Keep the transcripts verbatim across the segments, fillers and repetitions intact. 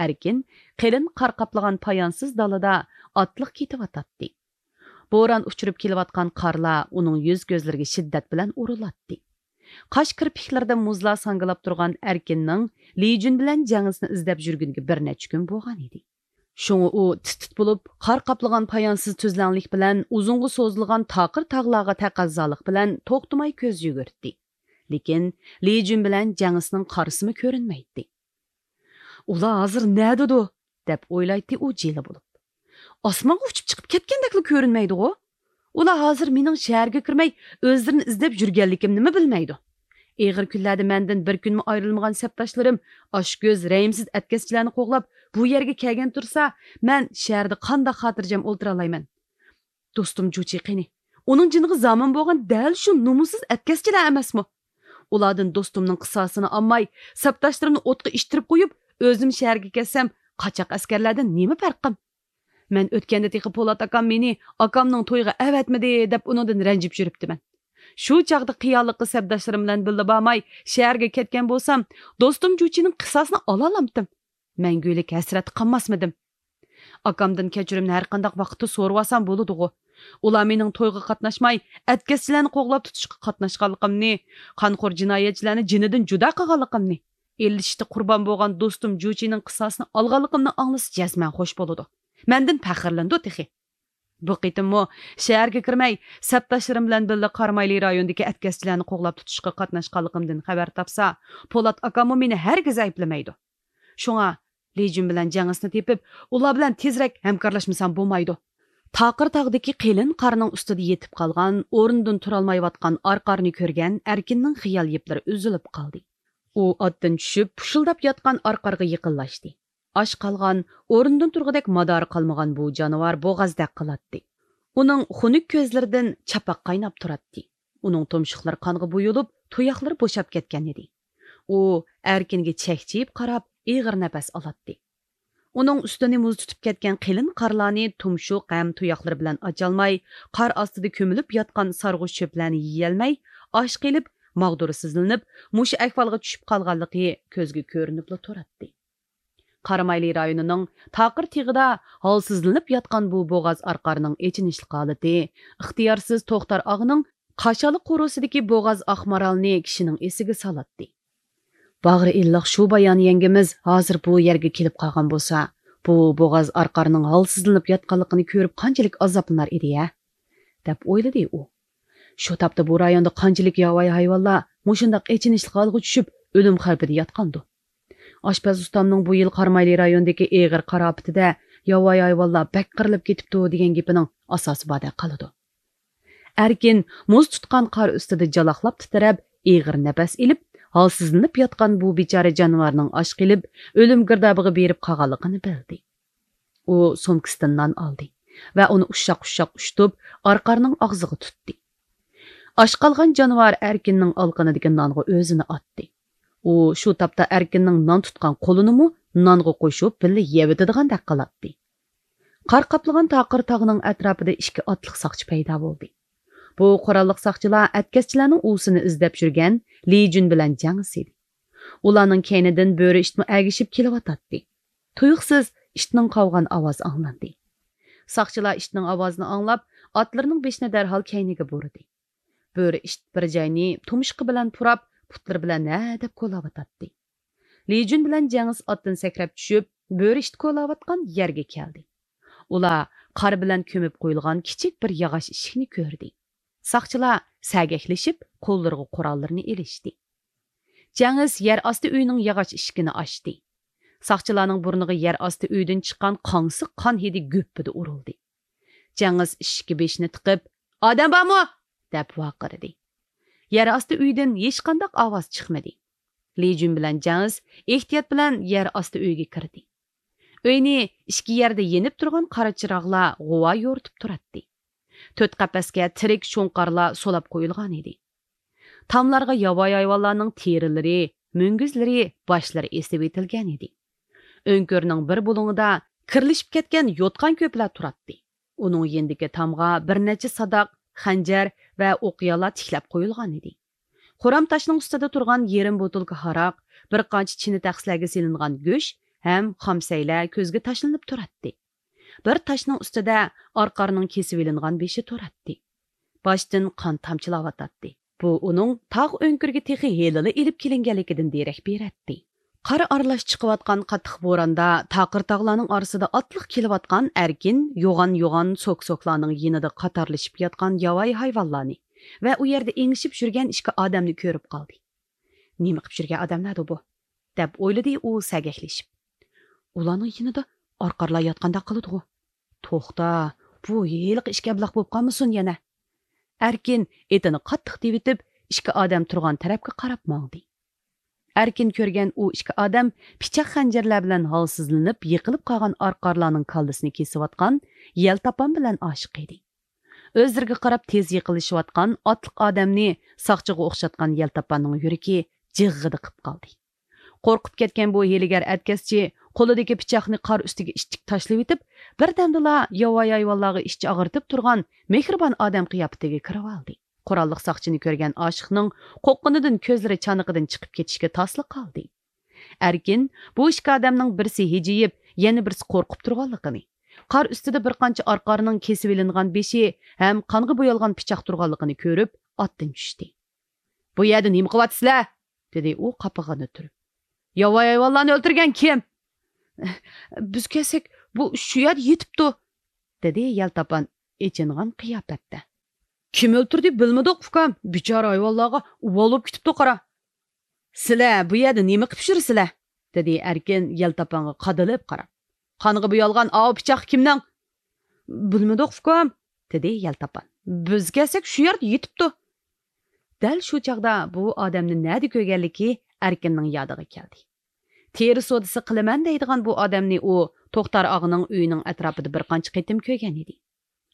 لېكىن قېلىن قار قاپلىغان پايانسىز دالىدا ئاتلىق كېتىۋاتاتتى. بوران ئۇچۇرۇپ كېلىۋاتقان قارلار ئۇنىڭ يۈز-كۆزلىرىگە شىددەت بىلەن ئۇرۇلاتتى. قاش كىرپىكلىرىدە مۇزلار ساڭگىلاپ تۇرغان ئەركىننىڭ لى جۈن بىلەن جەڭىسنى ئىزدەپ يۈرگىنىگە بىر نەچچە كۈن بولغان ئىدى. شۇڭا ئۇ تىت-تىت بولۇپ، قار قاپلىغان پايانسىز تۈزلەڭلىك بىلەن ئۇزۇنغا سوزۇلغان تاقىر تاغلارغا تەقەززالىق بىلەن توختىماي كۆز يۈگۈرتتى. لېكىن لى جۈن بىلەن جەڭىسنىڭ قارىسىمۇ كۆرۈنمەيتتى. «ئۇلار ھازىر نەدىدۇ؟» دەپ ئويلايتتى ئۇ جىلە بولۇپ. «ئاسمانغا ئۇچۇپ چىقىپ كەتكەندەكلا كۆرۈنمەيدىغۇ؟ ئۇلار ھازىر مېنىڭ شەھەرگە كىرمەي، ئۆزلىرىنى ئىزدەپ يۈرگەنلىكىمنىمۇ بىلمەيدۇ. ئېغىر كۈنلەردە مەندىن بىر كۈنمۇ ئايرىلمىغان سەپداشلىرىم ئاچكۆز، رەھىمسىز ئەتكەسچىلەرنى قوغلاپ، بۇ يەرگە كەلگەن تۇرسا، مەن شەھەردە قانداق خاتىرجەم ئولتۇرالايمەن؟ دوستۇم جۇچى قېنى؟ ئۇنىڭ جېنىغا زامىن بولغان دەل شۇ نومۇسسىز ئەتكەسچىلەر ئەمەسمۇ؟ ئۇلاردىن دوستۇمنىڭ قىساسىنى ئالماي، سەپداشلىرىمنى ئوتقا ئىتتىرىپ قويۇپ، ئۆزۈم شەھەرگە كەتسەم، قاچاق ئەسكەرلەردىن نېمە پەرقىم؟ مەن ئۆتكەندە تېخى پولات ئاكام مېنى ئاكامنىڭ تويىغا ئەۋەتمىدى دەپ ئۇنىڭدىن رەنجىپ يۈرۈپتىمەن. شۇ چاغدا خىياللىققا سەپداشلىرىم بىلەن بىللە بارماي، شەھەرگە كەتكەن بولسام، دوستۇم جۇچىنىڭ قىساسىنى ئالالامتىم؟ مەڭگۈلۈك ھەسرەتتە قالماسمىدىم؟ ئاكامدىن كەچۈرۈمنى ھەرقانداق ۋاقىتتا سورىۋالسام بولىدىغۇ. ئۇلار مېنىڭ تويغا قاتناشماي، ئەتكەسچىلەرنى قوغلاپ تۇتۇشقا قاتناشقانلىقىمنى، قانخور جىنايەتچىلەرنى جېنىدىن جۇدا قىلغانلىقىمنى، ئېلىشىشتا قۇربان بولغان دوستۇم جۇچىنىڭ قىساسىنى ئالغانلىقىمنى ئاڭلىسا جەزمەن خوش بولىدۇ. مەندىن پەخىرلىنىدۇ تېخى. بۇ قېتىممۇ شەھەرگە كىرمەي، سەپداشلىرىم بىلەن بىللە قارامايلى رايونىدىكى ئەتكەسچىلەرنى قوغلاپ تۇتۇشقا قاتناشقانلىقىمدىن خەۋەر تاپسا، پولات ئاكاممۇ مېنى ھەرگىز ئەيىبلىمەيدۇ. شۇڭا لى جۈن بىلەن جەڭىسنى تېپىپ، ئۇلار بىلەن تېزرەك ھەمكارلاشمىسام بولمايدۇ. تاقىر تاغدىكى قېلىن قارنىڭ ئۈستىدە يېتىپ قالغان، ئورنىدىن تۇرالمايۋاتقان ئارقارنى كۆرگەن ئەركىننىڭ خىيال يىپلىرى ئۈزۈلۈپ قالدى. ئۇ ئاتتىن چۈشۈپ، پۇشۇلداپ ياتقان ئارقارغا يېقىنلاشتى. ئاچ قالغان، ئورنىدىن تۇرغۇدەك مادارى قالمىغان بۇ جانىۋار بوغازدەك قىلاتتى. ئۇنىڭ خۇنۈك كۆزلىرىدىن چاپاق قايناپ تۇراتتى. ئۇنىڭ تۇمشۇقلىرى قانغا بويىلىپ، تۇياقلىرى بوشاپ كەتكەن ئىدى. ئۇ ئەركىنگە چەكچىيىپ قاراپ، ئېغىر نەپەس ئالاتتى. ئۇنىڭ ئۈستىنى مۇز تۇتۇپ كەتكەن قېلىن قارلارنى تۇمشۇق ھەم تۇياقلىرى بىلەن ئاچالماي، قار ئاستىدا كۆمۈلۈپ ياتقان سارغۇچ چۆپلەرنى يېيەلمەي، ئاچ قېلىپ، ماغدۇرسىزلىنىپ، مۇشۇ ئەھۋالغا چۈشۈپ قالغانلىقى كۆزگە كۆرۈنۈپلا تۇراتتى. قارامايلى رايونىنىڭ تاقىر تېغىدا ھالسىزلىنىپ ياتقان بۇ بوغاز ئارقارنىڭ ئېچىنىشلىق ھالىتى ئىختىيارسىز توختار ئاغىنىڭ قاشالا قورۇسىدىكى بوغاز ئاق مارالنى كىشىنىڭ ئېسىگە سالاتتى. باغرى ئىللىق شۇ بايان يەڭگىمىز ھازىر بۇ يەرگە كېلىپ قالغان بولسا، بۇ بوغاز ئارقارنىڭ ھالسىزلىنىپ ياتقانلىقىنى كۆرۈپ قانچىلىك ئازابلىنار ئىدى-ھە؟ دەپ ئويلىدى ئۇ. شۇ تاپتا بۇ رايوندا قانچىلىك ياۋايى ھايۋانلار مۇشۇنداق ئېچىنىشلىق ھالغا چۈشۈپ، ئۆلۈم خەۋپىدە ياتقاندۇ؟ ئاشپەز ئۇستامنىڭ بۇ يىل قارامايلى رايونىدىكى ئېغىر قار ئاپىتىدە ياۋايى ھايۋانلار بەك قىرىلىپ كېتىپتۇ دېگەن گېپىنىڭ ئاساسى باردەك قالىدۇ. ئەركىن مۇز تۇتقان قار ئۈستىدە جالاقلاپ تىترەپ، ئېغىر نەپەس ئېلىپ، ھالسىزلىنىپ ياتقان بۇ بىچارە جانىۋارنىڭ ئاچ قېلىپ، ئۆلۈم گىردابىغا بېرىپ قالغانلىقىنى بىلدى. ئۇ سومكىسىدىن نان ئالدى ۋە ئۇنى ئۇششاق-ئۇششاق ئۇشتۇپ، ئارقارنىڭ ئاغزىغا تۇتتى. ئاچ قالغان جانىۋار ئەركىننىڭ ئالىقىنىدىكى نانغا ئۆزىنى ئاتتى. ئۇ شۇ تاپتا ئەركىننىڭ نان تۇتقان قولىنىمۇ نانغا قوشۇپ، بىللە يەۋېتىدىغاندەك قىلاتتى. قار قاپلىغان تاقىر تاغنىڭ ئەتراپىدا ئىككى ئاتلىق ساقچى پەيدا بولدى. بۇ قوراللىق ساقچىلار ئەتكەسچىلەرنىڭ ئۇۋىسىنى ئىزدەپ يۈرگەن لى جۈن بىلەن جەڭ ئىدى. ئۇلارنىڭ كەينىدىن بۆرە ئىتمۇ ئەگىشىپ كېلىۋاتاتتى. تۇيۇقسىز ئىتنىڭ قاۋىغان ئاۋازى ئاڭلاندى. ساقچىلار ئىتنىڭ ئاۋازىنى ئاڭلاپ، ئاتلىرىنىڭ بېشىنى دەرھال كەينىگە بۇرىدى. بۆرە ئىت بىر جاينى تۇمشۇقى بىلەن پۇراپ، پۇتلىرى بىلەن ھەدەپ كولاۋاتاتتى. لى جۈن بىلەن جەڭىس ئاتتىن سەكرەپ چۈشۈپ، بۆرە ئىت كولاۋاتقان يەرگە كەلدى. ئۇلار قار بىلەن كۆمۈپ قويۇلغان كىچىك بىر ياغاچ ئىشىكنى كۆردى. ساقچىلار سەگەكلىشىپ، قوللىرىغا قوراللىرىنى ئېلىشتى. جەڭىس يەر ئاستى ئۆينىڭ ياغاچ ئىشىكىنى ئاچتى. ساقچىلارنىڭ بۇرنىغا يەر ئاستى ئۆيدىن چىققان قاڭسىق قان ھىدى گۈپپىدە ئۇرۇلدى. جەڭىس ئىشىككە بېشىنى تىقىپ، «ئادەم بارمۇ؟» دەپ ۋارقىرىدى. يەر ئاستى ئۆيدىن ھېچقانداق ئاۋاز چىقمىدى. لى جۈن بىلەن جەڭىس ئېھتىيات بىلەن يەر ئاستى ئۆيگە كىردى. ئۆينى ئىككى يەردە يېنىپ تۇرغان قارا چىراغلار غۇۋا يورۇتۇپ تۇراتتى. تۆت قەپەسكە تىرىك شۇڭقارلار سولاپ قويۇلغان ئىدى. تاملارغا ياۋايى ھايۋانلارنىڭ تېرىلىرى، مۈڭگۈزلىرى، باشلىرى ئېسىۋېتىلگەن ئىدى. ئۆڭكۈرنىڭ بىر بۇلۇڭىدا كىرلىشىپ كەتكەن يوتقان كۆپلەر تۇراتتى. ئۇنىڭ يېنىدىكى تامغا بىر نەچچە ساداق، خەنجەر ۋە ئوقيالار تىكلەپ قويۇلغان ئىدى. خورام تاشنىڭ ئۈستىدە تۇرغان يېرىم بوتۇلكا ھاراق، بىر قانچە چىنە تەخسىلەرگە سېلىنغان گۆش، ھەم خامسەيلەر كۆزگە تاشلىنىپ تۇراتتى. بىر تاشنىڭ ئۈستىدە ئارقارنىڭ كېسىۋېلىنغان بېشى تۇراتتى. باشتىن قان تامچىلاۋاتاتتى. بۇ ئۇنىڭ تاغ ئۆڭكۈرگە تېخى ھېلىلا ئېلىپ كېلىنگەنلىكىدىن دېرەك بېرەتتى. قار ئارىلاش چىقىۋاتقان قاتتىق بوراندا تاقىر تاغلارنىڭ ئارىسىدا ئاتلىق كېلىۋاتقان ئەركىن يوغان-يوغان سوك-سوكلارنىڭ يېنىدا قاتارلىشىپ ياتقان ياۋايى ھايۋانلارنى ۋە ئۇ يەردە ئېڭىشىپ يۈرگەن ئىككى ئادەمنى كۆرۈپ قالدى. «نېمە قىپ يۈرگەن ئادەملەردۇ بۇ؟» دەپ ئويلىدى ئۇ سەگەكلىشىپ. «ئۇلارنىڭ يېنىدا ئارقارلار ياتقاندەك قىلىدىغۇ. توختا، بۇ ھېلىقى ئىككى ئەبلەخ بولۇپ قالمىسۇن يەنە؟» ئەركىن ئېتىنى قاتتىق تېۋىتىپ، ئىككى ئادەم تۇرغان تەرەپكە قاراپ ماڭدى. ئەركىن كۆرگەن ئۇ ئىككى ئادەم پىچاق خەنجەرلەر بىلەن ھالسىزلىنىپ يىقىلىپ قالغان ئارقارلارنىڭ كاللىسىنى كېسىۋاتقان يەلتاپان بىلەن ئاشىق ئىدى. ئۆزلىرىگە قاراپ تېز يېقىنلىشىۋاتقان ئاتلىق ئادەمنى ساقچىغا ئوخشاتقان يەلتاپاننىڭ يۈرىكى جىغغىدە قىپ قالدى. قورقۇپ كەتكەن بۇ ھىيلىگەر ئەتكەسچى قولىدىكى پىچاقنى قار ئۈستىگە ئىتتىك تاشلىۋېتىپ، بىردەمدىلا ياۋايى ھايۋانلارغا ئىچ ئاغرىتىپ تۇرغان مېھرىبان ئادەم قىياپىتىگە كىرىۋالدى. قوراللىق ساقچىنى كۆرگەن ئاشىقنىڭ قورققىنىدىن كۆزلىرى چانىقىدىن چىقىپ كېتىشكە تاسلا قالدى. ئەركىن بۇ ئىككى ئادەمنىڭ بىرسى ھىجىيىپ، يەنە بىرسى قورقۇپ تۇرغانلىقىنى، قار ئۈستىدە بىر قانچە ئارقارنىڭ كېسىۋېلىنغان بېشى ھەم قانغا بويالغان پىچاق تۇرغانلىقىنى كۆرۈپ، ئاتتىن چۈشتى. «بۇ يەردە نېمە قىلىۋاتىسىلەر؟» دېدى ئۇ قاپىقىنى تۈرۈپ. «ياۋايى ھايۋانلارنى ئۆلتۈرگەن كىم؟» «بىز كەلسەك، بۇ شۇ يەردە يېتىپتۇ»، دېدى يەلتاپان ئېچىنغان قىياپەتتە. «كىم ئۆلتۈردى بىلمىدۇق، ئۇكام. بىچارە ھايۋانلارغا ئۇۋال بولۇپ كېتىپتۇ، قارا.» «سىلەر بۇ يەردە نېمە قىپ يۈرىسىلەر؟» دېدى ئەركىن يەلتاپانغا قادىلىپ قاراپ. «قانغا بويالغان ئاۋۇ پىچاق كىمنىڭ؟» «بىلمىدۇق، ئۇكام»، دېدى يەلتاپان. «بىز كەلسەك، شۇ يەردە يېتىپتۇ.» دەل شۇ چاغدا بۇ ئادەمنى نەدە كۆرگەنلىكى ئەركىننىڭ يادىغا كەلدى. تېرە سودىسى قىلىمەن دەيدىغان بۇ ئادەمنى ئۇ توختار ئاغىنىڭ ئۆيىنىڭ ئەتراپىدا بىر قانچە قېتىم كۆرگەن ئىدى.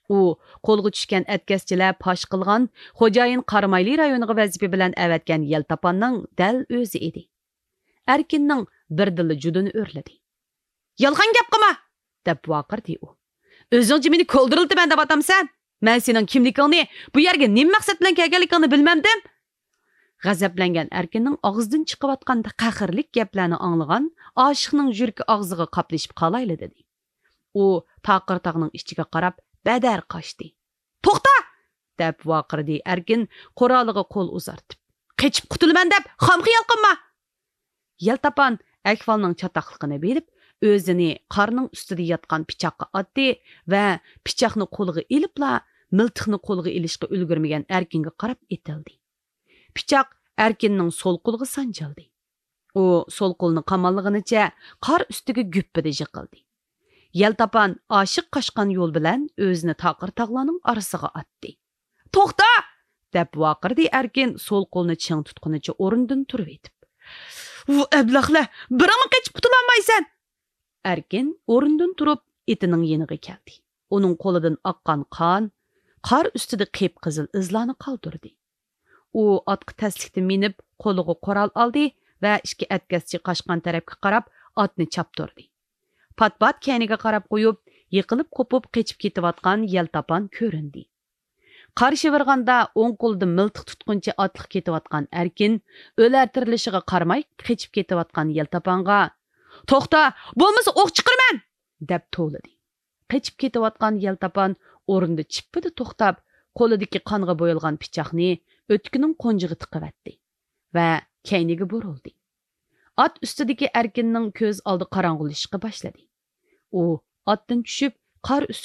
ئۇ قولغا چۈشكەن ئەتكەسچىلەر پاش قىلغان خوجايىن قارامايلى رايونىغا ۋەزىپە بىلەن ئەۋەتكەن يەلتاپاننىڭ دەل ئۆزى ئىدى. ئەركىننىڭ بىردىنلا جۇدۇنى ئۆرلىدى. «يالغان گەپ قىلما!» دەپ ۋارقىرىدى ئۇ. «ئۆزۈڭچە مېنى كولدۇرلىتىمەن دەۋاتامسەن؟ مەن سېنىڭ كىملىكىڭنى، بۇ يەرگە نېمە مەقسەت بىلەن كەلگەنلىكىڭنى بىلمەمدىم.» غەزەپلەنگەن ئەركىننىڭ ئاغزىدىن چىقىۋاتقان قەھرلىك گەپلەرنى ئاڭلىغان ئاشىقنىڭ يۈرىكى ئاغزىغا قاپلىشىپ قالايلا دېدى. ئۇ تاقىر تاغنىڭ ئىچىگە قاراپ بەدەر قاچتى. «توختا!» دەپ ۋارقىرىدى ئەركىن قورالىغا قول ئۇزارتىپ. «قېچىپ قۇتۇلىمەن دەپ خام خىيال قىلما!» يەلتاپان ئەھۋالنىڭ چاتاقلىقىنى بىلىپ، ئۆزىنى قارنىڭ ئۈستىدە ياتقان پىچاققا ئاتتى ۋە پىچاقنى قولىغا ئېلىپلا، مىلتىقنى قولىغا ئېلىشقا ئۈلگۈرمىگەن ئەركىنگە قاراپ ئېتىلدى. پىچاق ئەركىننىڭ سول قولىغا سانجىلدى. ئۇ سول قولىنى قاماللىغىنىچە قار ئۈستىگە گۈپپىدە يىقىلدى. يەلتاپان ئاشىق قاچقان يول بىلەن ئۆزىنى تاقىر تاغلارنىڭ ئارىسىغا ئاتتى. «توختا!» دەپ ۋارقىرىدى ئەركىن سول قولىنى چىڭ تۇتقىنىچە ئورنىدىن تۇرۇۋېتىپ. «ۋۇ ئەبلەخلەر، بىرىڭمۇ قېچىپ قۇتۇلالمايسەن!» ئەركىن ئورنىدىن تۇرۇپ ئېتىنىڭ يېنىغا كەلدى. ئۇنىڭ قولىدىن ئاققان قان قار ئۈستىدە قىپقىزىل ئىزلارنى قالدۇردى. ئۇ ئاتقا تەسلىكتە مىنىپ، قولىغا قورال ئالدى ۋە ئىككى ئەتكەسچى قاچقان تەرەپكە قاراپ ئاتنى چاپتۇردى. پات-پات كەينىگە قاراپ قويۇپ، يىقىلىپ قوپۇپ قېچىپ كېتىۋاتقان يەلتاپان كۆرۈندى. قار شىۋىرغاندا ئوڭ قولىدا مىلتىق تۇتقىنىچە ئاتلىق كېتىۋاتقان ئەركىن ئۆلەر تىرىلىشىغا قارىماي قېچىپ كېتىۋاتقان يەلتاپانغا، «توختا، بولمىسا ئوق چىقىرىمەن!» دەپ توۋلىدى. قېچىپ كېتىۋاتقان يەلتاپان ئورنىدا چىپپىدە توختاپ، قولىدىكى قانغا بويالغان پىچاقنى ئۆتۈكىنىڭ قونجىغا تىقىۋەتتى ۋە كەينىگە بۇرۇلدى. ئات ئۈستىدىكى ئەركىننىڭ كۆز ئالدى قاراڭغۇلىشىشقا باشلىدى. ئۇ ئاتتىن چۈشۈپ، قار ئۈستىدە